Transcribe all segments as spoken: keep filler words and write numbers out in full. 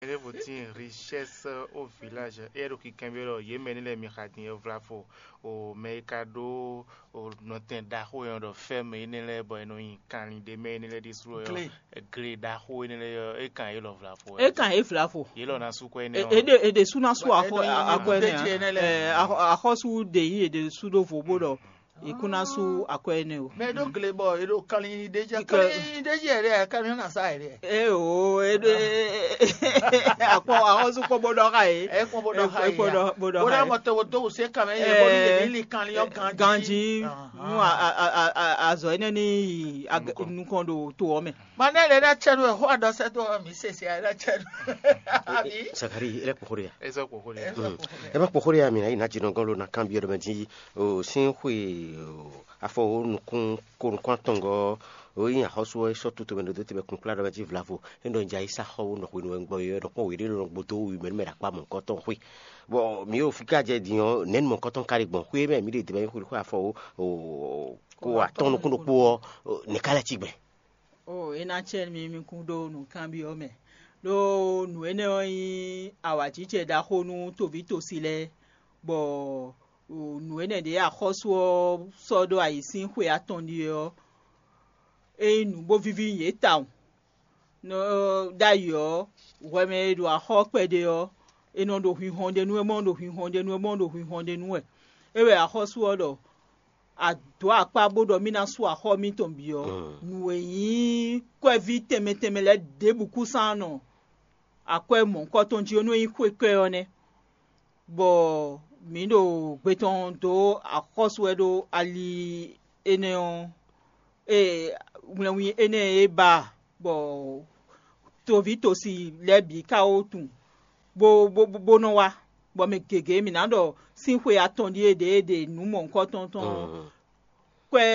Mɛ ɖěvo tíin richesse au village, éyɛ́ ɖo kikanbyɔ́ ɖɔ yě mɛ énɛ́ lɛ́ɛ mi xa din ɔ́ vlavo, o mɛ e ka ɖó o nɔtɛn ɖaxó e nɔ ɖɔ fɛ́m énɛ́ lɛ́ɛ bɔ è nɔ nyi kanlin ɖé mɛ énɛ́ lɛ́ɛ ɖésú ɔ́, gle ɖaxó énɛ́ lɛ́ɛ ɔ́, é kan yě lɔ vlavo. É kan yě vlavo. Yě lɔ ná sú kwɛ́ énɛ́ ɔ́. È ɖě sɔ́ ná sú axɔ́sú akɔ énɛ́. Axɔ́sú ɖě nyí è ɖě sú ɖó vo bó ɖɔ è kún ná sú akɔ énɛ́ o. Mɛ ɖó gle bɔ è ɖo kanlin ɖé jɛ. Kanlin ɖé jɛ ɖé, kanlin ná sa yě ɖé. Eo, akpɔ axɔ́sú kpɔ bó ɖɔ xa yě. Ɛ kpɔ bó ɖɔ xa yé. Bó ɖɔ bó ɖɔ xa yé. Mɔ tɔwɔ dó wò sé kanmɛ yé bó ní yé ní li kanlin ɔ́ ganjí. Ganjí. Nú azɔ énɛ́ ní yi nukɔn ɖo to ɔ́ mɛ. Mane ɖe ɖe cɛ nu xɔ adɔsɛ to mi sese ɖe cɛ nu. Abi. Sakari, ele kpɔkɔ ɖe ya. Eza kpɔkɔ ɖe. Eza kpɔkɔ ɖe. Ema kpɔkɔ ɖe ya mi na yi na jinɔgɔn lo na kan bi ɖɔ mɛ ji o sin xwe o afɔ o nukun ko nukun atɔngɔ o yi axɔsu ɔ sɔ tutu mɛ ɖo te bɛ kun kpla ɖɔ mɛ ji vlavo. E ɖɔ ja yi sa xɔ wo nɔ xwe nu gbɔ yɔ nɔ kpɔ wɛ ɖe nɔ gbodo wi mɛ mɛ ɖakpa mɔ kɔtɔn xwe. Bɔ mi yo fika jɛ din ɔ nɛn mɔ kɔtɔn kari gbɔn xwe mɛ mi ɖe de bɛ xwe xwe afɔ o ko atɔn nukun ɖokpo ɔ ne ka lɛ ci gbɛ. O é ná cɛ mi mi kún ɖó nǔkanbyɔ́ mɛ, ɖó nǔ énɛ́ ɔ́ nyí awǎjijɛ ɖaxó nú toví tosi lɛ́ɛ, bɔ nǔ énɛ́ ɖě axɔ́sú ɔ́ sɔ́ ɖó ayǐ sín xwe atɔn ɖíe ɔ́, é nyí nǔ bó víví nyi yě tawun. Nɔ ɖ'ayǐ ɔ́, hwɛ mɛ e ɖo axɔ́ kpɛɖé ɔ́, è nɔ ɖo hwinhɔn ɖe nú wɛ, bɔ ɖo hwinhɔn ɖe nú wɛ, bɔ ɖo hwinhɔn ɖe nú wɛ. É wɛ axɔ́sú ɔ́ ɖɔ: "A dǒ akpá bó ɖɔ mì ná sú axɔ́ mitɔn bǐ ɔ́, nǔ e nyí kwɛ́ví tɛnmɛ tɛnmɛ lɛ́ɛ ɖěbǔ kúsán nɔ akwɛ́ mɔ̌hunkɔtɔn jí ɔ́, nú é nyí xwé kɔ́ ɛ ɔ́ nɛ́." Bɔ mǐ ɖo gbe tɔn dó axɔ́sú wɛ ɖó ali énɛ́ ɔ́, e wlɛnwín énɛ́ e ba bɔ toví tosi lɛ́ɛ bǐ ka wó tunwun bó bó bó nɔ wá, bɔ mɛ gěgé mǐ ná ɖɔ sín xwe atɔn ɖíe ɖě e ɖe nǔ mɔ̌hunkɔtɔn tɔn ɔ́, kwɛ́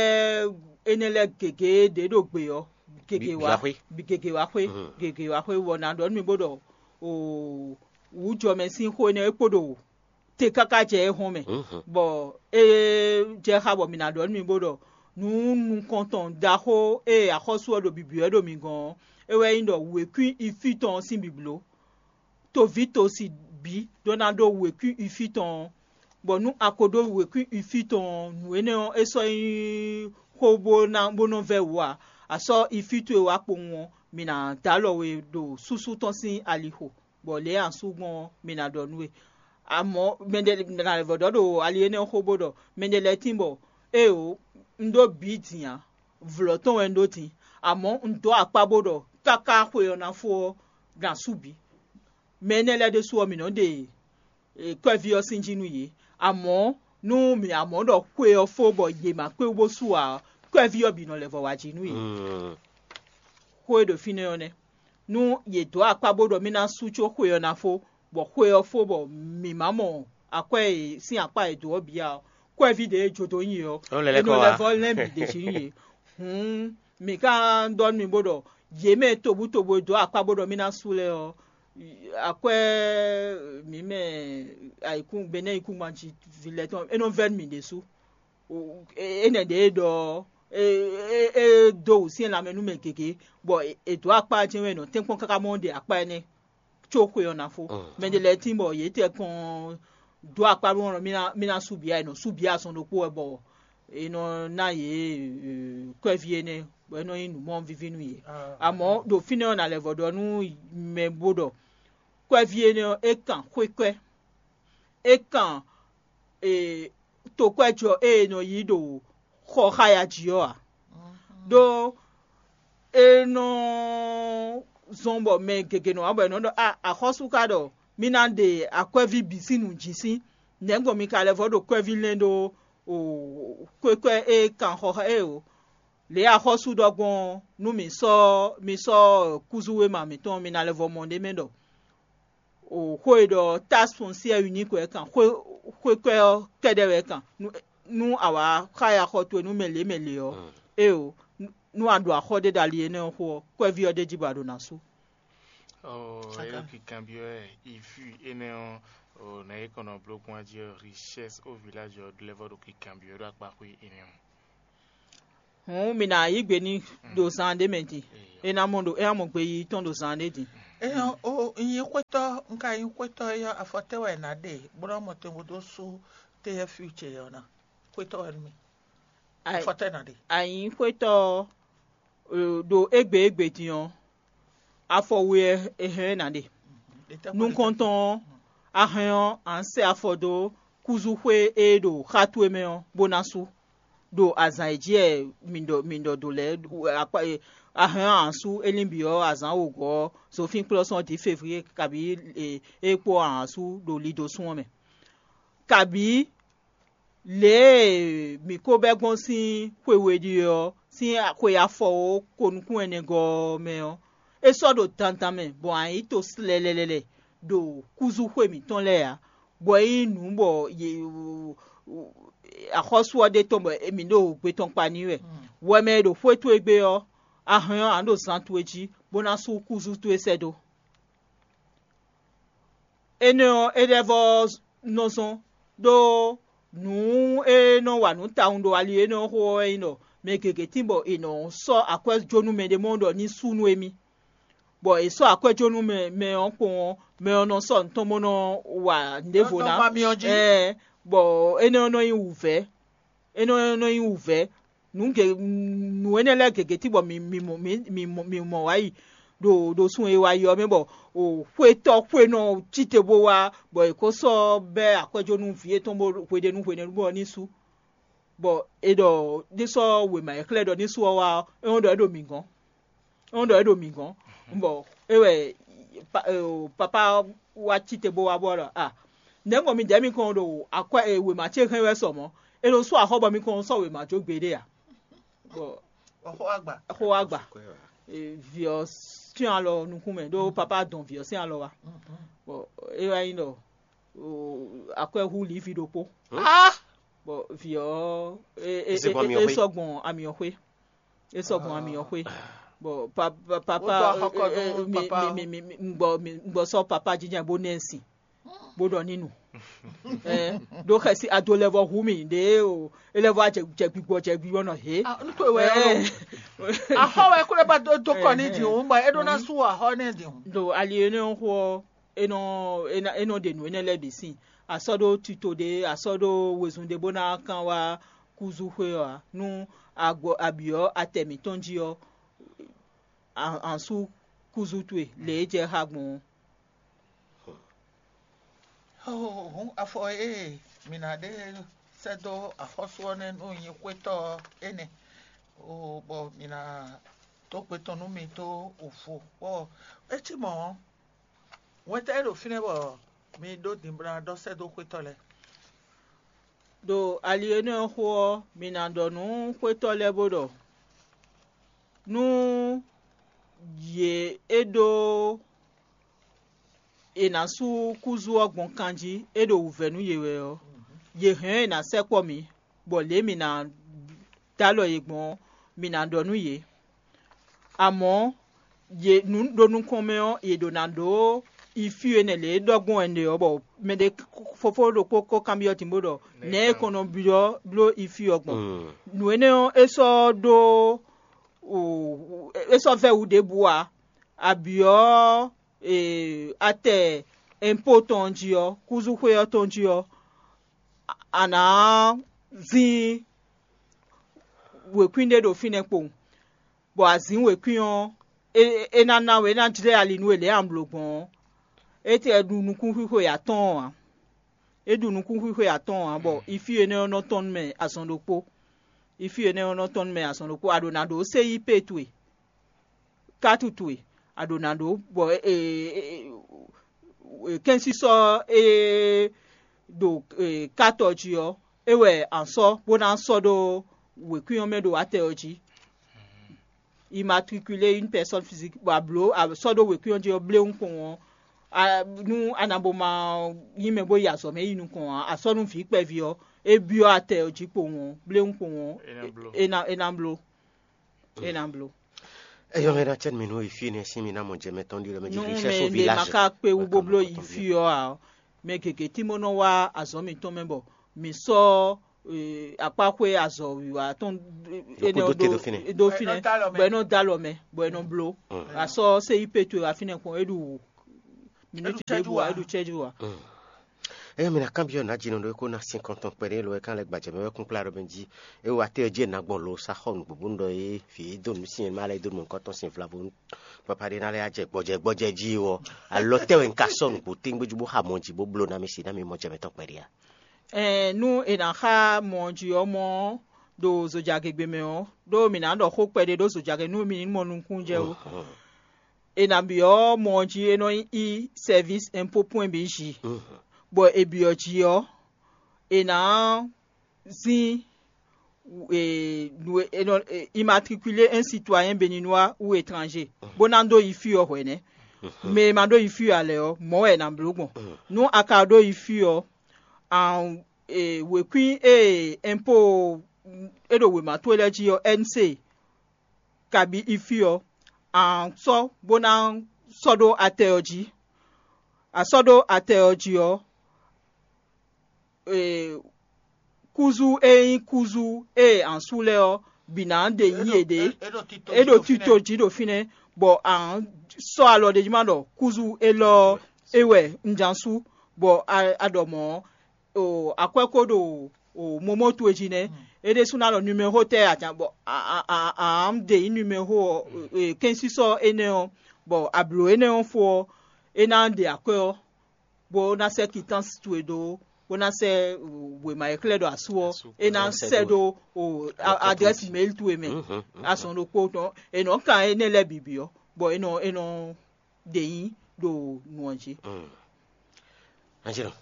énɛ́ lɛ́ɛ gěgé ɖě ɖo gbe ɔ́, gěgé wá, gěgé wá xwé, gěgé wá xwé, bɔ ná ɖɔ nú mi bó ɖɔ o wǔjɔmɛ sín xó énɛ́ é kpo ɖo te káká jɛ é hɔn mɛ, bɔ é jɛ xá bɔ mǐ ná ɖɔ nú mi bó ɖɔ nǔ nukɔntɔn ɖaxó e axɔ́sú ɔ́ ɖo bǐbí wɛ ɖo mi gɔ́n ɔ́, é wɛ nyí ɖɔ wěkwín ifí tɔn ɔ́ sín bǐbló. Toví tosi bǐ ɖó ná ɖó wěkwín ifí tɔn ɔ́, bɔ nú a ko ɖó wěkwín ifí tɔn ɔ́, nǔ énɛ́ ɔ́, é sɔ́ nyí xó bó ná bó nɔ vɛ́ wǔ ǎ. A sɔ́ ifí towe wá kpowun ɔ́, mǐ ná dó alɔ we ɖo súsú tɔn sín alixo, bɔ lě e a sú gbɔn ɔ́, mǐ ná ɖɔ nú we. Amɔ̌, mɛɖé ná lɛ́ vɔ̌ ɖɔ ɖo ali énɛ́ ɔ́ xó bó ɖɔ: "Mɛɖé lɛ́ɛ tíin bɔ éeǒ, un ɖó bǐ din ǎ, vlɔ̌ tɔn wɛ un ɖó din, amɔ̌ un dǒ akpá bó ɖɔ káká xwe ɔ́ ná fó ɔ́, gan sú bǐ." Mɛ énɛ́ lɛ́ɛ ɖésú ɔ́, mǐ nɔ́ ɖe kwɛ́ví ɔ́ sín jí nú yě. Amɔ̌, nú mǐ amɔ̌ ɖɔ xwe ɔ́ fó bɔ yě ma kpé wú bó sú ǎ ɔ́, kwɛ́ví ɔ́ bǐ nɔ lɛ́ vɔ wá jí nú yě. Xó e ɖo fínɛ́ ɔ́ nɛ́. Nú yě dǒ akpá bó ɖɔ mì ná sú có xwe ɔ́ ná fó, bɔ xwe ɔ́ fó bɔ mǐ ma mɔ akwɛ́ e sín akpá e dǒ ɔ́ bǐ ǎ ɔ́, kwɛ́ví ɖě e jó dó nyi ɔ́, é nɔ lɛ́ vɔ lɛ́n bǐ ɖě jí nú yě. Hǔn mǐ ka ɖɔ nú mi bó ɖɔ yě mɛ tobutobu e dǒ akpá bó ɖɔ mì ná sú lɛ́ɛ ɔ́, akwɛ́ mǐ mɛ ayǐkún Benɛ́ yíkúngban jí ví lɛ́ɛ tɔn é nɔ vɛ́ nú mì ɖésú. Énɛ́ ɖě e ɖɔ ɔ́, é é é dó wǔsyɛ́n lanmɛ nú mɛ gěgé, bɔ è dǒ akpá ɔ́ jɛ́n wɛ è nɔ tɛ́nkpɔ́n káká mɔ ɖe akpá énɛ́ có xwe ɔ́ ná fó. Mɛ ɖé lɛ́ɛ tíin bɔ yě tɛ kɔn dó akpá ɖó ɔ́, mì ná mì ná sú bǐ ǎ, è nɔ sú bǐ azɔn ɖokpó wɛ bɔ è nɔ ná yě kwɛ́ví énɛ́, bɔ é nɔ nyí nǔ mɔ víví nú yě. Amɔ̌ ɖo fínɛ́ ɔ́, nǎ lɛ́ vɔ ɖɔ nú mɛ bó ɖɔ kwɛ́ví énɛ́ ɔ́, é kan xwékwɛ́, é kan tokwɛ́jɔ e è nɔ yí ɖo xɔ xáya jí ɔ́ ǎ. Ɖó é nɔ zɔn bɔ mɛ gěgé nɔ wá bɔ è nɔ ɖɔ a axɔ́sú ka ɖɔ mì ná ɖe akwɛ́ví bǐ sín nǔ jí sín, nɛ̌gbɔn mi ka lɛ́ vɔ ɖo kwɛ́ví lɛ́n ɖó kwékwɛ́ e kan xɔ xá e o? Lě e axɔ́sú ɖɔ gbɔn ɔ́, nú mi sɔ́ mi sɔ́ kúzú wéma mǐtɔn, mi ná lɛ́ vɔ mɔ ɖ'é mɛ ɖɔ o xó e ɖɔ taxe foncière unique wɛ kan, xwé xwé kwɛ́ ɔ́ kɛ́ɖɛ́ wɛ kan. Nú a wǎ xá ya xɔ towe nú mɛ lě mɛ lě ɔ́, éeǒ, nú a ɖo axɔ́ ɖé ɖo ali énɛ́ ɔ́ xo ɔ́, kwɛ́ví ɔ́ ɖ'é jí bɔ a ɖo ná sú. Ɔ, é ɖo kikanbyɔ́ wɛ, ivi énɛ́ ɔ́, ɔ, nǎ é kɔn nɔ bló gbɔn jí ɔ́, richesse au village ɔ́, ɖó lɛ́ vɔ ɖo kikanbyɔ́ ɖo akpáxwé énɛ́ ɔ́. Hǔn mǐ ná yí gbe n'i ɖo zan ɖé mɛ din. É ná mɔ ɖo é ná mɔ gbeyiyi tɔn ɖo zan ɖé din. Eyan o nyi xwetɔ nka nyi xwetɔ eya afɔtɛ wɛ na ɖe bó ná mɔ tɛngo dó sú téyɛ future yɛ ɔ́ ná. Xwetɔ wɛ nú mi. Afɔtɛ na ɖe. Anyi xwetɔ ɖo égbé égbé din ɔ́, afɔ we wɛ è hɛn ɛ ná ɖe. Nukɔntɔn ɔ́, a hɛn ɔ́, a nǎ sɛ afɔ dó kúzúxwé e ɖo xá towe mɛ ɔ́ bó ná sú. Ɖo azǎn e jí wɛ mi ɖɔ mi ɖɔ do lɛ́ɛ a hɛn ɔ́, a nǎ sú é lín bǐ ɔ́, azǎn wǒgɔ́ ɔ́, zofínkplɔ́sɔ́n ɔ́ dǐ février kabǐ é kpó a nǎ sú ɖo lidosún ɔ́ mɛ. Kabǐ lě e mǐ ko bɛ́ gbɔn sín xwe we ɖíe ɔ́, sín xwe afɔwǒ ko nukún ɛnɛgɔ́ ɔ́ mɛ ɔ́, é sɔ́ ɖo dandan mɛ bɔ a nyǐ to slɛlɛlɛlɛ ɖo kúzúxwe mǐtɔn lɛ́ɛ ǎ, bɔ é nyí nǔ bɔ axɔ́sú ɔ́ ɖe tɔn bɔ mǐ ɖo gbe tɔn kpa n'i wɛ. Wɛ mɛ e ɖo xwé towe gbe ɔ́, a hɛn ɔ́, a nǎ ɖo zan towe jí, bó ná sú kúzú towe sɛ́ dó. Énɛ́ ɔ́, é lɛ́ vɔ́ nɔ zɔ́n ɖó nǔ e nɔ wa nǔ tawun ɖo ali énɛ́ ɔ́ xó ɔ́ wɛ nyí ɖɔ mɛ gěgé tín bɔ è nɔ sɔ́ akwɛ́ jó nú mɛɖé mɔ ɖɔ ní sú nú émí, bɔ è sɔ́ akwɛ́ jó nú mɛ mɛ ɔ́ kpɔ́n ɔ́, mɛ ɔ́ nɔ sɔ́ nǔ tɔn bó nɔ wa nǔɖěvo ná. Ɛɛ, bɔ énɛ́ ɔ́ nɔ nyí wǔvɛ́. É nɔ nɔ nyí wǔvɛ́. Nǔ ge nǔ énɛ́ lɛ́ɛ gěgé cí bɔ mǐ mǐ mɔ mǐ mǐ mɔ mǐ mɔ wá yi ɖo ɖo sun e wá yi ɔ́ mɛ bɔ xwetɔ́ xwenɔ cí te bó wá bɔ è ko sɔ́ bɛ́ akwɛ́ jó nú vǐ yětɔn bó hweɖénu hweɖénu bɔ ní sú. Bɔ è ɖɔ ní sɔ́ wěma e xlɛ́ ɖɔ ní sú ɔ́ wá ɔ́, é nɔ ɖɔ é ɖo mǐ gɔ́n. É nɔ ɖɔ é ɖo mǐ gɔ́n. Bɔ é wɛ papá wá cí te bó wá bɔ ɖɔ a nɛ̌ gbɔn mi dɛ̌ mi kɔn ɖo akwɛ́ e wěma ce hɛn wɛ sɔ mɔ̌? É ɖo sú axɔ́ bɔ mi kɔn sɔ́ wěma jó gbeɖé a? Bɔ Xó agba. Xó wá gba. Vǐ ɔ́ sín alɔ nukún mɛ ɖó papá dɔn vǐ ɔ́ sín alɔ wá. Bɔ é wá nyí ɖɔ akwɛ́ hu lǐvi ɖokpó. Bɔ vǐ ɔ́ é sɔ́ gbɔn amyɔxwé. É sɔ́ gbɔn amyɔxwé. Bɔ papá un gbɔ sɔ́ papá jínjɛ́n bó nɛ́ sin bó ɖɔ ní nu. Ɖó xɛsi ado lɛ́ vɔ hu mì ɖě o é lɛ́ vɔ jɛ gbigbɔ jɛ gbigbɔ nɔ hě. Axɔ wɛ kó lɛ ba dó kɔ ní dǐhun bɔ é ɖó ná sú axɔ nɛ dǐhun. Ɖo ali énɛ́ xó ɔ́ é nɔ é nɔ ɖe nǔ énɛ́ lɛ́ɛ bǐ sin. A sɔ́ ɖó tito ɖé, a sɔ́ ɖó wezun ɖé bó ná kán wá kúzú xwé ɔ́ ǎ. Nú a gbɔ a byɔ̌ atɛ mǐtɔn jí ɔ́, a sú kúzú towe lě e jɛ xá gbɔn ɔ́. Hǔn afɔ e mǐ ná ɖe sɛ́ dó axɔ́sú ɔ́ nɛ́ nú nyí xwétɔ́ ɔ́ énɛ́. Bɔ mǐ ná dó gbe tɔn nú mi dó vo. Bɔ é cí mɔ̌ ɔ́, wɛntɛ́ e ɖo fínɛ́ bɔ mi ɖó din bó ná ɖɔ sɛ́ dó xwétɔ́ lɛ́ɛ. Ɖo ali énɛ́ ɔ́ xó ɔ́, mǐ ná ɖɔ nú xwétɔ́ lɛ́ɛ bó ɖɔ: Nú yě é ɖó è nǎ sú kúzú ɔ́ gbɔn kan jí, é ɖo wǔvɛ́ nú yě wɛ ɔ́, yě hɛn ɔ́ è nǎ sɛkpɔ́ mǐ, bɔ lě e mǐ ná dó alɔ yě gbɔn ɔ́, mǐ ná ɖɔ nú yě. Amɔ̌, yě nǔ ɖo nukɔn mɛ ɔ́, yě ɖǒ ná ɖó ifí e nɛ̌ lě e ɖɔ gbɔn wɛ un ɖe ɔ́, bɔ mɛɖé fofó ɖokpó ko kanbyɔ́ din bó ɖɔ nɛ̌ è kɔn nɔ byɔ́ bló ifí ɔ́ gbɔn. Nǔ énɛ́ ɔ́, é sɔ́ ɖó é sɔ́ vɛ́ wǔ ɖěbǔ ǎ. A byɔ́ atɛ ɛnpó tɔn jí ɔ́, kúzúxwé ɔ́ tɔn jí ɔ́, a nǎ zín wěkwín ɖé ɖo fínɛ́ kpowun, bɔ azǐn wěkwín ɔ́, é ná ná we, é ná jlɛ́ ali nú we lě e a blǒ gbɔn ɔ́, é tɛ ɖu nukúnxwíxwe atɔ́ɔ́n ǎ. É ɖu nukúnxwíxwe atɔ́ɔ́n ǎ, bɔ ifí énɛ́ ɔ́ nɔ tɔ́n nú mɛ azɔn ɖokpó. Ifí énɛ́ ɔ́ nɔ tɔ́n nú mɛ azɔn ɖokpó. A ɖǒ ná ɖǒ séyípe towe, kátu towe, a ɖǒ ná ɖǒ bɔ kɛ́nsísɔ́ e ɖo kátɔ jí ɔ́, é wɛ a sɔ́ bó ná sɔ́ ɖó wěkwín ɔ́ mɛ ɖo atɛ ɔ́ jí. Immatriculer une personne physique bɔ a blǒ a sɔ́ ɖó wěkwín ɔ́ jí ɔ́ bléwún kpowun ɔ́, nú a nǎ bo ma nyí mɛ bó yi azɔ̌ mɛ yi nukɔn ǎ, a sɔ́ nú vǐ kpɛví ɔ́, é byɔ́ atɛ ɔ́ jí kpowun ɔ́, bléwún kpowun ɔ́, é ná é ná bló. É ná bló. Eyɔ́ hɛn ná cɛ́ mi nú e fí nɛ́ sín mi ná mɔ jɛ mɛ tɔn ɖi lɔ mɛ jí Nú mɛ ɖe ma ka kpé wú bó bló yi fí ɔ́ ǎ ɔ́, mɛ gěgé tímɔ́ nɔ wá azɔ̌ mǐtɔn mɛ bɔ mǐ sɔ́ akpáxwé azɔ̌wiwa tɔn. Ɖokpó dó te ɖo fínɛ́. Ɖo fínɛ́, bɔ é nɔ dó alɔ mɛ, bɔ é nɔ bló. Asɔ C I P towe wá fínɛ́ kpɔn, é ɖu miniti ɖěbǔ wá, é ɖu cɛ́jú wá. Eye mi ná kanbyɔ́ nǎjínɔ ɖó é kó ná sin kɔntɔn kpɛɖé lo é kán lɛ́ gbajɛ mɛ wɛ kún kplá ɖɔ mɛ jí. É wá tɛ́ jí è nǎ gbɔn lo sá xɔ nǔgbó bónú ɖɔ é vǐ e dó nǔ sin e má lɛ́ dó nǔ nukɔntɔn sin vlavo nú papa ɖé ná lɛ́ jɛ gbɔjɛ gbɔjɛ jí ɔ́, alɔ tɛ́ wɛ un ka sɔ́ nǔgbó téŋgbéjú bó xa mɔ jí bó bló ná mì si ná mi mɔ jɛ mɛtɔn kpɛɖé a? Ɛn nú è nǎ xa mɔ ɔ́ jí ɔ́, mɔ ɔ́ ɖo zojagegbe mɛ ɔ́, ɖó mǐ ná ɖɔ xó kpɛɖé ɖó zojagbe nú mi ní mɔ nukúnnú jɛ ó. È nǎ byɔ́ mɔ ɔ́ jí é nɔ yí sɛ́vísi ɛnpó pwɛ́n bǐ jí, bɔ è byɔ́ jí ɔ́, è nǎ zín immatriculer un citoyen béninois ou étranger, bó ná dó yi fí ɔ́ hwɛ̌nɛ́. Mɛ e ma ɖó yi fí ɔ́ ǎ lɛ́ɛ ɔ́, mɔ̌ wɛ è nǎ bló gbɔn. Nú a ka ɖó yi fí ɔ́, wěkwín e ɛnpo e ɖo wěma towe lɛ́ɛ jí ɔ́, N C, kabǐ yi fí ɔ́, a sɔ́ bó ná sɔ́ ɖó atɛ ɔ́ jí. A sɔ́ ɖó atɛ ɔ́ jí ɔ́, kúzú e nyí kúzú e a sú lɛ́ɛ ɔ́ bǐ ná ɖe nyí yěɖée. É ɖo tito jí ɖo fínɛ́, bɔ a sɔ́ alɔ ɖ'é jí ma ɖɔ kúzú élɔ́ ɔ́, é wɛ un ján sú, bɔ a ɖɔ mɔ̌ ɔ́, akwɛ́ ko ɖo momó towe jí nɛ́. É ɖésú ná ɖɔ numéro tɛ́ a ján bɔ a ɖe nyí numéro ɔ́, kɛ́nsísɔ énɛ́ ɔ́, bɔ a blǒ énɛ́ ɔ́ fó ɔ́, é ná ɖe akwɛ́ ɔ́, bó ná sɛ́ kitáns towe dó, bó ná sɛ́ wěma e xlɛ́ ɖɔ asú ɔ́, é ná sɛ́ ɖó adrɛ́si mail towe mɛ. Azɔn ɖokpó tɔn è nɔ kan énɛ́ lɛ́ɛ bǐ byɔ́, bɔ é nɔ é nɔ ɖe nyí ɖo nǔ ɔ́ jí. Anjelo,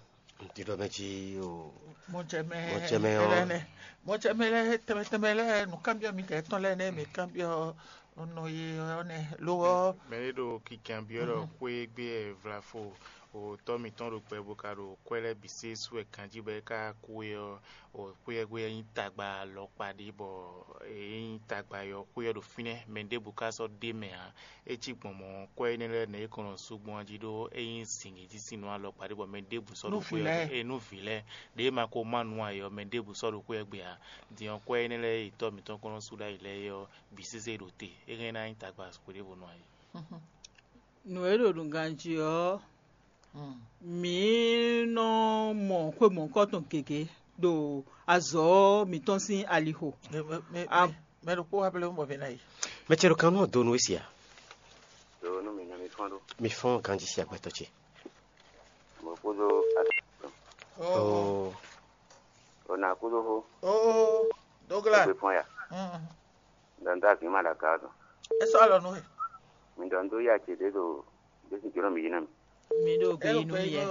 ntí ɖɔ mɛ jí o. Mɔjɛmɛ Mɔjɛmɛ ɔ́. Lɛnɛ, mɔjɛmɛ lɛ tɛmɛ tɛmɛ lɛ nukánbyɔ mi kɛ tɔn lɛ nɛ mi kánbyɔ nɔ ye ɔnɛ lo ɔ. Mɛ ɖé ɖo kikanbyɔ ɖɔ xwé gbé vlafo o tɔ mitɔn ɖo gbɛ bo ka ɖo kwɛ lɛ bi se su ɛ kanji bɛ ka kú e ɔ o xwé ɛ gbé ɛ nyi tagba lɔkpa ɖi bɔ e nyi tagba yɔ xwé ɔ ɖo fínɛ mɛ ɖěbǔ ka sɔ ɖe mɛ ǎ. É cí gbɔn mɔ̌, kwɛ́ énɛ́ lɛ́ɛ nɛ̌ é kɔn nɔ sú gbɔn jí ɖó é nyí zǐngíjísin nú alɔkpa ɖé bɔ mɛ ɖěbǔ sɔ́ ɖo xwé ɔ́ é nú vǐ lɛ́ɛ. Ɖěe ma ko má nǔ ǎ é ɔ́, mɛ ɖěbǔ sɔ́ ɖo xwé ɔ́ gbe ǎ. Din ɔ́, kwɛ́ énɛ́ lɛ́ɛ e tɔ́ mǐtɔn kɔn nɔ sú ɖ'ayǐ lɛ́ɛ é ɔ́, bǐ sésé ɖo te. É hɛn ná nyí tagba hwěɖěvo nú ayǐ. Nǔ e ɖo nǔgan jí ɔ́, mǐ nɔ mɔ xwe mɔ̌hunkɔtɔn gěgé ɖo azɔ̌ mǐtɔn sín alixo. Mɛ ɖokpó wá blɛ́ mɔ mɛ ná yi. Mɛ ce ɖo kan nú ɔ́ dó nú we sia? Ɖo nú mi nɔ mi fɔ́n ɖó. Mi fɔ́n ganjí sia gbɛtɔ́ ce. Mo kúdó atɔn. Oo. O na kúdó xó. Oo. Dógla. Ó gbé fɔ́n ya. Dɔn dó azǐn ma ɖo aga ɔ́ tɔn. É sɔ́ alɔ nú we. Mi ɖɔ un dó ya ce ɖě ɖo ɖěsin jǒnɔ mi yí ná mi. Mi ɖo gbeyín nú mi yɛ.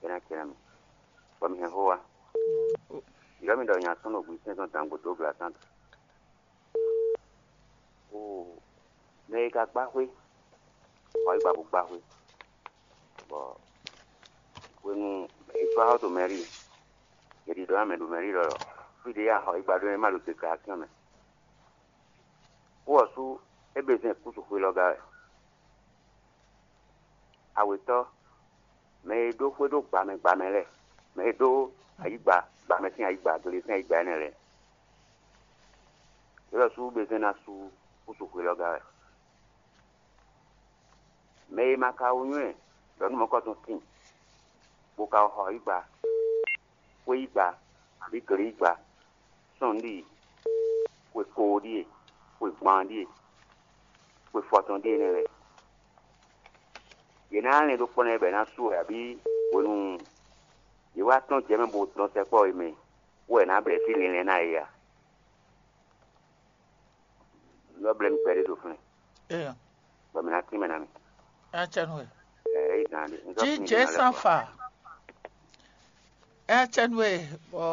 É ná ce ná mi. Bɔ mi hɛn xó wa. Yɔ mi ɖɔ nya sɔ́ nɔ gbí sɛ́n tɔn dan gbǒdó gbla tán. Oo, mɛ e ka gbá xwé, xɔ yi gba bó gbá xwé. Bɔ hwenu e sɔ́ xɔ to mɛrí, è ɖi ɖɔ ná mɛ ɖo mɛrí lɔ fí ɖě ya xɔ yi gba ɖó é ma ɖo deklarasyon mɛ. Kú ɔ́ sú é be zɛn kúsu xwe lɔ gá wɛ. Awětɔ́, mɛ e ɖó xwé ɖó gbǎmɛ gbǎmɛ lɛ́ɛ, mɛ e ɖó ayǐgba gbǎmɛ sín ayǐgba, gle sín ayǐgba énɛ́ lɛ́ɛ, é lɔ sú be zɛn ná sú kúsu xwe lɔ gá wɛ. Mɛ e ma ka wú nywɛ́ ɖɔ nú mɔ̌kɔtɔn tíin, bó ka xɔ yí gba, xwé yí gba, abǐ gle yí gba, sɔ́n ɖíe, xwe koo ɖíe, xwe gban ɖíe, xwe fɔtɔn ɖíe nɛ́ lɛ́ɛ. Yě ná lɛn ɖó kpɔ́ nɛ́ bɔ è nǎ su wɛ abǐ hwenu yě wá tɔ́n jɛ mɛ bó dɔn sɛkpɔ́ e mɛ, wɛ è nǎ blɛ̌ fí linlɛn ná yě a? Lɔ blɛ́ mi kpɛɖé ɖo flɛ́n, bɔ mǐ ná tín mɛ ná mi. Acɛnu e. Ɛ, é yi gán ɖé. Un sɔ́ Jí tín jɛ mǐ ná lɛ́ san kɔ. Fa. Acɛnu e bɔ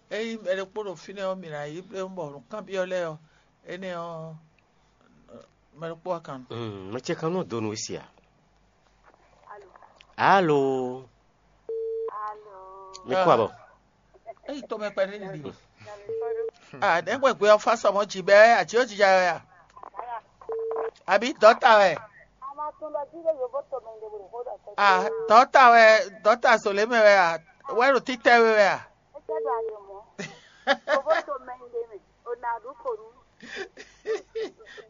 eyi mɛ ɖokpó ɖo fínɛ́ ɔ́, mǐ ná yí bléwún bɔ nǔkanbyɔ́ lɛ́ɛ ɔ́, énɛ́ ɔ́, mɛ ɖokpó wá kan nɔ. Mm, mɛ ce kan nɔ do nǔ sia. Alo. Mi kú abɔ. Eyi tɔmɛ kpɛɖé nìɖi. Ah, nɛgbɛ gbé ɔ́ fa sɔmɔ jì bɛ àti ó jija wɛ a? Àbí dɔta wɛ? Ah, dɔta wɛ, dɔta zolé mɛ wɛ a? Wɛ ɖo títɛ we wɛ a? Ovoto mɛ ɖe mɛ, o na ɖu ko nu.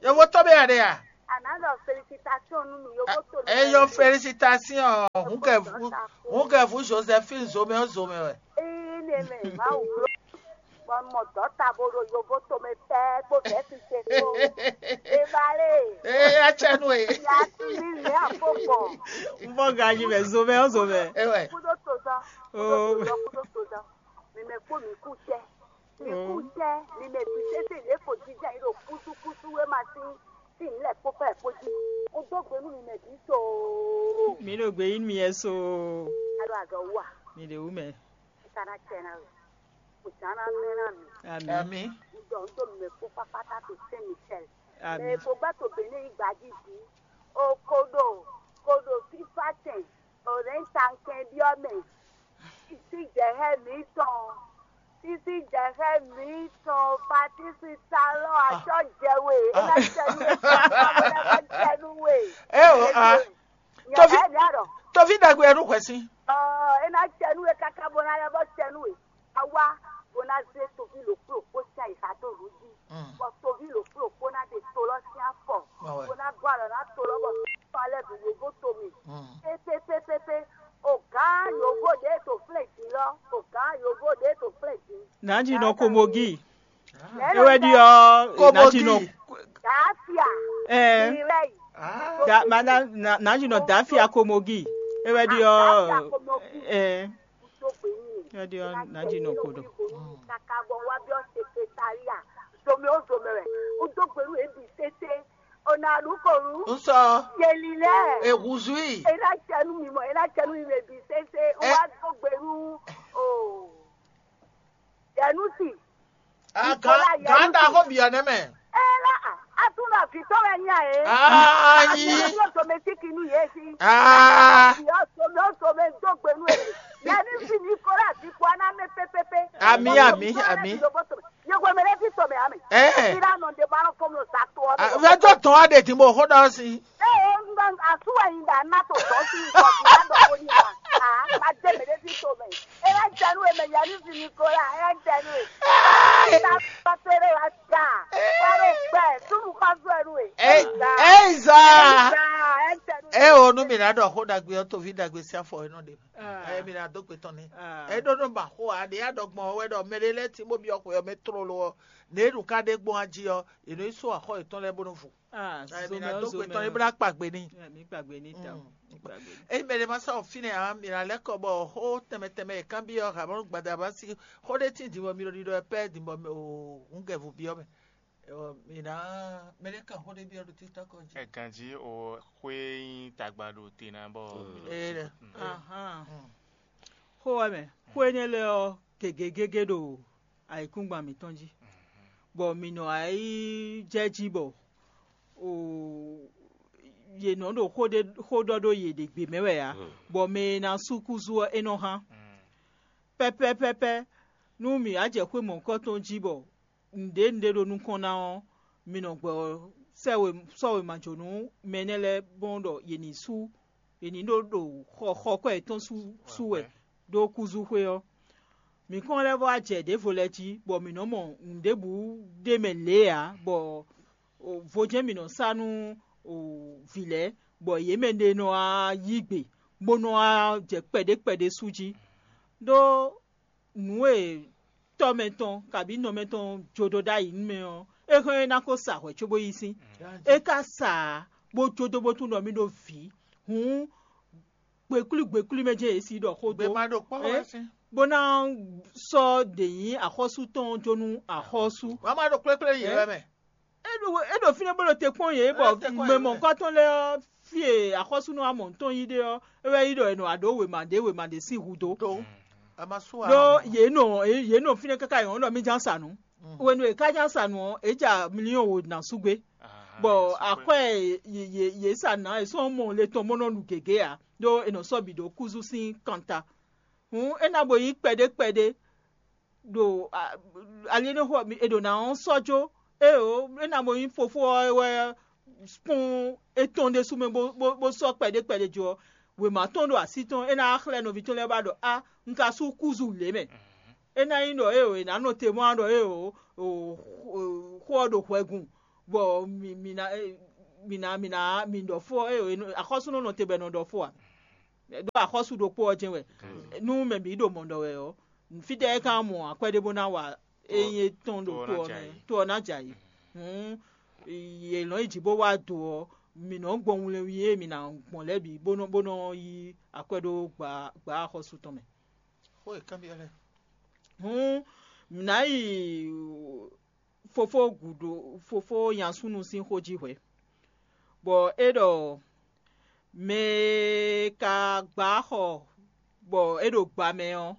Yovo tɔ́ bɛ aɖe a? Another felicitation nu mi yovo to mɛ. Eyo felicitation. Hun kɛ vu Josephine zomɛ o zomɛ wɛ. Ee ne mɛ ma wo blo. Bon mo dɔta bo ɖo yovo to mɛ pɛ kpo vɛsi se kpo. Ebale. Ee atsɛnu e. Ya ti mi mi afo gbɔ. N bɔ ganji mɛ zomɛ o zomɛ. Ewɛ. Kudo to dɔ. Oh. Kudo to dɔ. Mi mɛ kpo mi ku tɛ. Mi ku tɛ. Mi mɛ bi sese le ko jija yi ɖo kusu kusu we ma si. Si mi lɛ kpo pɛ kpo ji. O do gbe nu mi mɛ bi so. Mi ɖo gbe yi mi yɛ so. Alo azɔ wa. Mi ɖe wu mɛ. Kana tsɛ na we. O tsana mɛ na mi. Ami. Ami. Ŋdɔ ŋdɔ mi mɛ kpo kpakpata to Saint Michel. Mɛ Ami. ko gbá to Benin yi gbaji jí. O koɖo koɖo fífá tɛn. O rɛn tankɛn biɔ mɛ. Sisi jɛhɛ mi tɔn. Sisi jɛhɛ mi tɔn. Patisi talɔ atsɔ jɛwe. Ena jɛnu we. Ena jɛnu we. E o a. Tofi Nyɛ ɛ nyɛ rɔ. Tofi dagbe ɛnu hwɛ si. Ɔ, ena tsɛnu e kaka bo na lɛ bɔ tsɛnu e. Awa bo na ze tovi lo kplo kpo sia yi sa to lu ji. Bɔ tovi lo kplo kpo na de to lɔ sia fɔ. Awɛ. Bo na gɔ alɔ na to lɔ bɔ fa lɛ bi yovo to mi. Pe pe pe pe pe. O gán yovo de to flɛ ji lɔ. O gán yovo de to flɛ ji. Nanji nɔ komogi. Lɛ Ewɛ di ɔ. Komogi. Nanji nɔ. Dafia. Ɛ. Irɛ yi. Ah. Da mana na- nanji nɔ dafia komogi. Ewɛ di ɔ. Ɛ. Ewɛ di ɔ nanji nɔ kodo. Kaka bɔ wa bi ɔ sekretariat. Zome o zome wɛ. O do gbenu e bi sese. O na lu ko lu. N sɔ. Yeli lɛ. Ehuzui. E na tsɛnu mi mɔ, e na tsɛnu mi mɛ bi sese. O Ɛ. wa do gbenu. O. Yɛnu si. Ah, gan gan da ko biɔ ne mɛ. Ela a tún lọ fi tọ́ ẹ ní àyè. Ayi. Yóò tó mi sí kinú yé sí. Ah. Yóò tó mi ó tó mi dó gbénú ẹ̀. Yẹn ní fi ní kórè àti kó aná mi pépépé. Àmì, àmì, àmì. Yóò mi lé fi tó mi àmì. Eh. Ìlànà òde bá lọ fún mi ò sá tó ọ. Ah, vɛjɔ tɔn wa de ti mo xó dɔ si. Ee, àsúwẹ̀ yìí dà ná tó tọ́ sí nǹkan tí wọ́n dọ̀ fún yìí wá. Má dé mi lé fi tó mi. Ẹ yá jẹnu ẹ̀ mẹ̀ yẹn ní fi ní kórè, ẹ yá jẹnu ẹ̀. Ìta pàtẹ́rẹ́ wa jà. Wọ́n lè gbẹ, túnú pàṣẹ ẹnu ẹ̀. Ẹ ẹ ìzà. Ẹ jẹnu. Ẹ o nu mi na dɔ xó dagbe ɔ tovi dagbe si afɔ ɛ nɔ de. Ɛ mi na dó gbe tɔn ni. Ɛ ɖó nɔ ba xó a ɖe ya dɔ gbɔn wɛ dɔ mɛ ɖe lɛ ti bó bi ɔkɔ yɔ mɛ tró lo ɔ. Ne ɖu ka ɖe gbɔn aji ɔ, enu yi so axɔ yetɔn lɛ bó nɔ vo. Ɛ mi na dó gbe tɔn ni bó na kpa gbe ni. Mi gbàgbé ní ta o. Mi gbàgbé ní. Eyi mɛ ɖe ma sa o fínɛ a mi na lɛ kɔ bɔ xó tɛmɛ tɛmɛ yɛ kan bi ɔ ha mɔ gbada ba si xó ɖe ti di bɔ mi ɖo ɖiɖɔ ɛ pɛ di bɔ o hun gɛ vu bi ɔ mɛ. Ɔ mi na mɛ ɖe kan xó ɖe bi ɔ ɖo títɔ kɔ jí. Ẹ̀gànjí o xwé yín tagba ɖo te ná bɔ mi lọ Ee sí ɖe. Ahan. Xó wɛ mɛ. Xó énɛ́ lɛ́ɛ ɔ́ gěgé gégé ɖo ayǐkúngban mǐtɔn jí. Bɔ mǐ nɔ ayí jɛ jí bɔ o yě nɔ ɖo xó ɖé xó ɖɔ ɖó yě ɖě gbe mɛ wɛ ǎ. Bɔ mɛ e ná sú kúzú ɔ́ é nɔ hán. Pɛ́pɛ́pɛ́pɛ́ nú mǐ wá jɛ xwé mɔ̌hunkɔtɔn jí bɔ nǔɖé nǔɖé ɖo nukɔn ná ɔ́, mi nɔ gbɔ sɛ́ we sɔ́ wěma jó nú mɛ énɛ́ lɛ́ɛ gbɔn ɖɔ yě ní sú yě ní ɖó ɖo xɔ xɔ kwɛ́ yětɔn sú sú wɛ ɖó kúzúxwé ɔ́. Mǐ kɔn lɛ́ vɔ wá jɛ ɖěvo lɛ́ɛ jí, bɔ mǐ nɔ́ mɔ nǔɖébǔ ɖ'é mɛ lě ǎ, bɔ vo jɛ́n mǐ nɔ sá nú vǐ lɛ́ɛ, bɔ yě mɛ ɖé nɔ wá yí gbe, bó nɔ wá jɛ kpɛɖé kpɛɖé sú jí. Ɖó nǔ e tɔ́ mɛ tɔn kabǐ nɔ mɛ tɔn jó ɖó ɖ'ayǐ nú mɛ ɔ́, é hɛn ɔ́ é ná ko sa hwɛ̌ cóbó yí sín. É ka sa ǎ, bó jó dó bó tunwun ɖɔ mì ɖó vǐ. Hǔn gbeklwí gbeklwí mɛ jɛ́n yě si ɖɔ xó dó. Gbema ɖo kpɔ́ wɛ sín. Bó ná sɔ́ ɖě nyí axɔ́sú tɔn jó nú axɔ́sú. Wọ́n máa ɖo kplékplé yě wɛ mɛ. É ɖo é ɖo fínɛ́ bó ɖo te kpɔ́n yě bɔ É te kpɔ́n mɛ yě mɔ̌hunkɔtɔn lɛ́ɛ ɔ́, fí e axɔ́súnú amɔ̌ntɔn yí ɖe ɔ́, é wɛ yí ɖɔ è nɔ wá ɖó wěma ɖě wěma ɖě sín hǔ dó. Tó a ma sú wa. Ɖó yě nɔ yě nɔ fínɛ́ káká yě nɔ ɖɔ mí ján sa nǔ. Hwenu e ká ján sa nǔ ɔ́, é ja miliyɔn wo ná sú gbé. Bɔ akwɛ́ e yě yě yě sa ná è sɔ́ mɔ le tɔn bó nɔ nu gěgé ǎ, ɖó è nɔ sɔ́ bǐ ɖó kúzú sín kanta. Hǔn é ná bo nyí kpɛɖé kpɛɖé ɖo a- ali énɛ́ xo ɔ́, è ɖǒ ná ɔ́ sɔ́ jó. Éeǒ, é ná bo nyí fofó ɔ́ wɛ kpɔ́n étɔn ɖésú mɛ bó bó bó sɔ́ kpɛɖé kpɛɖé jó ɔ́, wěma tɔn ɖo así tɔn, é ná xlɛ́ nɔví tɔn lɛ́ɛ ba ɖɔ a un ka sú kúzu lě mɛ. É ná nyí ɖɔ éeǒ è nǎ nɔ te mɔ wá ɖɔ éeǒ xó ɔ́ ɖo hwɛgun, bɔ mǐ ná mǐ ná mǐ ná mǐ ɖɔ fó ɔ́ éeǒ, axɔ́súnɔ nɔ te bɔ è nɔ ɖɔ fó ǎ. Ɖó axɔ́sú ɖokpó ɔ́ jɛ́n wɛ. Nú mɛ bǐ ɖo mɔ̌ ɖɔ wɛ ɔ́, fítɛ́ é ka mɔ akwɛ́ ɖé bó ná wa é nyí étɔn ɖo to ɔ́ mɛ, to ɔ́ ná jɛ ayǐ. Hǔn è nɔ yi jǐ bó wá do ɔ́, mǐ nɔ́ gbɔn wlɛnwí e mǐ ná gbɔn lɛ́ɛ bǐ bó nɔ bó nɔ yí akwɛ́ ɖó gbǎ gbǎ axɔ́sú tɔn mɛ. Xó e kanbyɔ́ lɛ́ɛ. Hǔn mǐ ná yi fofó gǔdo fofó nya súnnu sín xó jí hwɛ̌, bɔ é ɖɔ mɛ e ka gbá xɔ bɔ é ɖo gba mɛ ɔ́,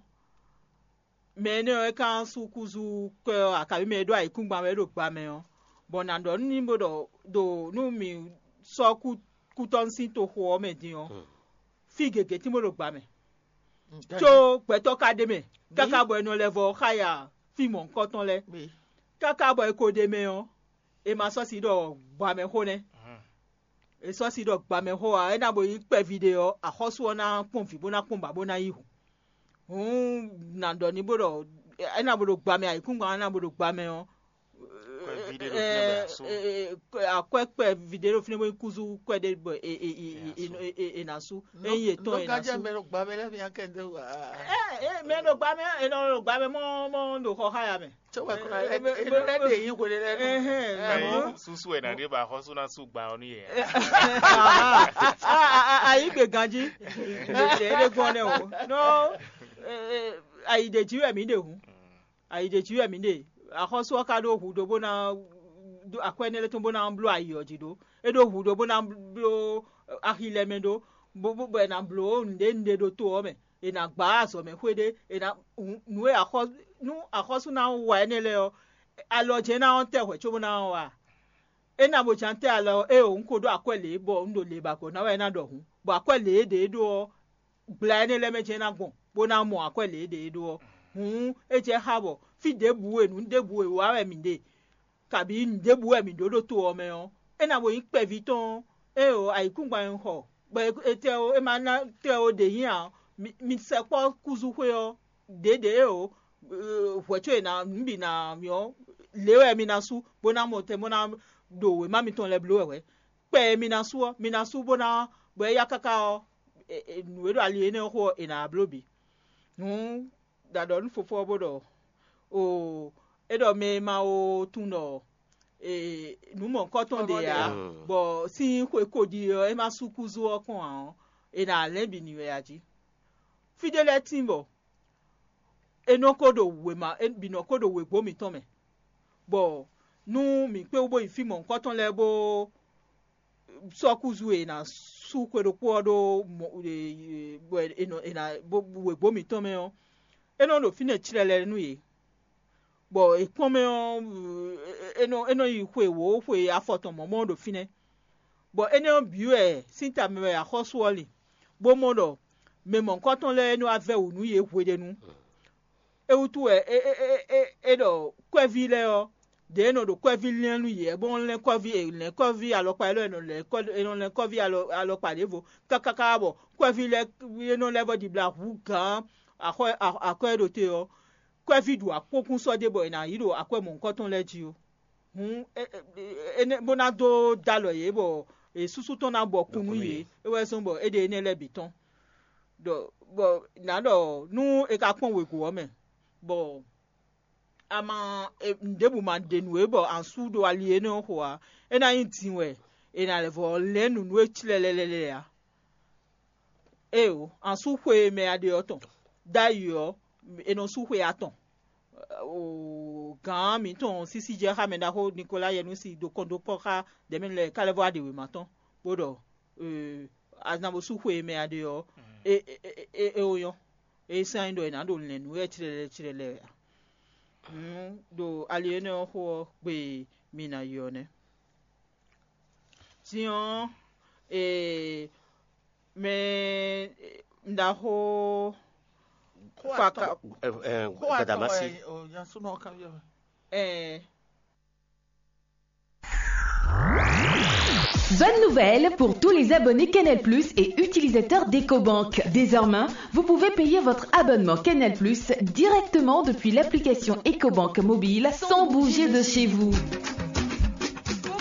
mɛ énɛ́ ɔ́ é ka sú kúzú kwɛ́ ɔ́, akabi mɛ e ɖó ayǐkúngban wɛ é ɖo gba mɛ ɔ́, bɔ nǎ ɖɔ nú ní bó ɖɔ ɖo nú mǐ sɔ́ kú kútɔ́ sín toxo ɔ́ mɛ din ɔ́, fí gěgé tín bó ɖo gba mɛ. Có gbɛtɔ́ ka ɖ'é mɛ káká bɔ è nɔ lɛ́ vɔ xá ya fí mɔ̌hunkɔtɔn lɛ́ɛ. Káká bɔ è ko ɖ'é mɛ ɔ́, è ma sɔ́ si ɖɔ gbamɛxó nɛ́. È sɔ́ si ɖɔ gbamɛxó ǎ, é ná bo nyí kpɛví ɖé ɔ́, axɔ́sú ɔ́ ná kpɔ́n vǐ bó ná kpɔ́n ba bó ná yí hǔn. Hǔn nǎ ɖɔ ní bó ɖɔ é ná bo ɖo gbamɛ, ayǐkúngban ɔ́ ná bo ɖo gbamɛ ɔ́, Kpɛví ɖé ɖo fínɛ́ bɔ è nǎ sú. Akwɛ́ kpɛví ɖé ɖo fínɛ́ bó nyí kúzú kwɛ́ ɖé bɔ è nǎ sú. Ényí è tɔ́n è nǎ sú. Mɛ ɖo gba mɛ lɛ́ɛ mi akɛ ndé wa. Ɛ ɛ mɛ ɖo gba mɛ, è nɔ ɖo gba mɛ mɔ mɔ ɖo xɔ xá ya mɛ. Tso wɛ kura ɛ ɛ ɛ ɖe yin hwele lɛ nu. Ɛhɛn, Ɛhɛn. Susu ɛ na ɖe ba xɔsu na su gba ɔ nu yɛ. Ayi gbe ganji. Ɖe ɖe gbɔn nɛ o. No. Ayi ɖe ji wɛ mi ɖe hu. Ayi ɖe ji wɛ mi ɖe. Axɔsu ɔ ka ɖo hu ɖo bó ná akwɛ́ nɛ lɛ́ tɔn bó ná bló ayi ɔ jí ɖó. É ɖo hu ɖo bó ná bló axi lɛ mɛ ɖó. Bó bó bɔ è nǎ bló nǔɖé nǔɖé ɖo to ɔ́ mɛ. È nǎ gbá azɔ̌ mɛ xwé ɖé. È nǎ nǔ e axɔ nú axɔ́sú ná wa énɛ́ lɛ́ɛ ɔ́, alɔ jɛ́n ná ɔ́ tɛ hwɛ̌ cóbó ná ɔ́ wa. É ná bo ján tɛ́ alɔ ée un ko ɖó akwɛ́ lě bɔ un ɖo lě ba gbɔ̌ ná wɛ é ná ɖɔ hǔn, bɔ akwɛ́ lě e ɖě é ɖó ɔ́, gbla énɛ́ lɛ́ɛ mɛ jɛ́n ná gbɔn, bó ná mɔ akwɛ́ lě e ɖě é ɖó ɔ́. Hǔn é jɛ xá bɔ fí ɖěbǔ e nǔ ɖěbǔ e wa wɛ mǐ ɖe, kabǐ nǔ ɖěbǔ wɛ mǐ ɖó ɖo to ɔ́ mɛ ɔ́, é ná bo nyí kpɛví tɔn ée o ayǐkúngban e un xɔ, bɔ è tɛ o é ma ná tɛ o ɖě nyi ǎ. Mi sɛkpɔ́ kúzúxwé ɔ́, ɖěɖě ée o hwɛ̌ có è nǎ nǔ bǐ ná mì ɔ́, lě wɛ mi ná sú, bó ná mɔ tɛn bó ná ɖo wěma mitɔn lɛ́ɛ bló wɛ hwɛ̌. Kpɛ e mi ná sú ɔ́, mi ná sú bó ná bɔ é yá káká ɔ́, nǔ e ɖo ali énɛ́ ɔ́ xo ɔ́, è nǎ bló bǐ. Hǔn ɖa ɖɔ nú fofó ɔ́ bó ɖɔ: “Oo, é ɖɔ mɛ e ma ó tunwun ɖɔ nǔ mɔ̌hunkɔtɔn ɖe ǎ, bɔ sín xwe ko ɖi ɔ́, é ma sú kúzú ɔ́ kɔn ǎ ɔ́, è nǎ lɛ́n bǐ n'i wɛ a jí.” Fí ɖé lɛ́ɛ tíin bɔ é nɔ ko ɖo wěma é bǐ nɔ ko ɖo wěgbó mǐtɔn mɛ, bɔ nú mǐ kpé wú bó yi fí mɔ̌hunkɔtɔn lɛ́ɛ bó sɔ́ kúzu e è nǎ sú xwe ɖokpó ɔ́ ɖó wěgbó mǐtɔn mɛ ɔ́, é nɔ ɖo fínɛ́ clɛlɛ nú yě, bɔ è kpɔ́n mɛ ɔ́, é nɔ é nɔ yi xwe wǒ xwe afɔ tɔn mɔ̌ mɔ ɖo fínɛ́. Bɔ énɛ́ ɔ́ bǐ wɛ sín ta mɛ wɛ axɔ́sú ɔ́ lin, bó mɔ ɖɔ mɛ mɔ̌hunkɔtɔn lɛ́ɛ é nɔ wá vɛ́ wǔ nú yě hweɖénu. É wútu wɛ é ɖɔ kwɛ́ví lɛ́ɛ ɔ́, ɖě e nɔ ɖo kwɛ́ví lɛ́n nú yě, bó nɔ́ lɛ́n kɔ́ví è lɛ̌n kɔ́ví alɔkpa élɔ́ è nɔ lɛ̌n kɔ́ è nɔ lɛ́n kɔ́ví alɔ alɔkpa ɖěvo káká káká bɔ kwɛ́ví lɛ́ɛ é nɔ lɛ́ vɔ ɖibla hǔ gǎn axɔ́ akwɛ́ e ɖo te ɔ́, kwɛ́ví ɖu akpókún sɔ́ ɖé bɔ è nǎ yí ɖo akwɛ́ mɔ̌hunkɔtɔn lɛ́ɛ jí ó. Hǔn énɛ́ bó ná dó dó alɔ yě bɔ è súsú tɔn ná bɔ kún nú yě, é wɛ zɔ́n bɔ é ɖe énɛ́ lɛ́ɛ bǐ tɔn. Ɖɔ bɔ nǎ ɖɔ nú è ka kpɔ́n wěgo ɔ́ mɛ, bɔ a ma nǔɖěbǔ ma ɖe nǔ é bɔ a sú ɖo ali énɛ́ ɔ́ xo ǎ, é ná nyí din wɛ è nǎ lɛ́ vɔ lɛ̌n nǔnú e clɛlɛlɛ ǎ. Éeǒ, a sú xwe e mɛ a ɖe ɔ́ tɔn. Ɖ'ayǐ ɔ́, è nɔ sú xwe atɔn. Gǎn mǐtɔn sísí jɛ xá mɛ ɖaxó Nikola Yɛnusi ɖo kɔn dó kpɔ́ xá ɖɛ̌mɛnu lɛ́ɛ ká lɛ́ vɔ wá ɖe wěma tɔn, bó ɖɔ a ná bó sú xwe e mɛ a ɖe ɔ́, é é ó nyɔ́. É sɛ́n nyí ɖɔ è nǎ ɖo lɛ̌n nǔ wɛ clɛlɛ clɛlɛ wɛ a? Hǔn ɖo ali énɛ́ ɔ́ xo ɔ́ gbe e mi ná yi ɔ́ nɛ́. Din ɔ́, ee mɛ ɖaxó Faka Gbadamasi. Ɛɛ. Bonne nouvelle pour tous les abonnés Canal Plus et utilisateurs d'EcoBank. Désormais, vous pouvez payer votre abonnement Canal Plus directement depuis l'application EcoBank Mobile sans bouger de chez vous.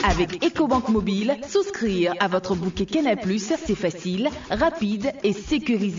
Avec EcoBank Mobile, souscrire à votre bouquet Canal Plus, c'est facile, rapide et sécurisé.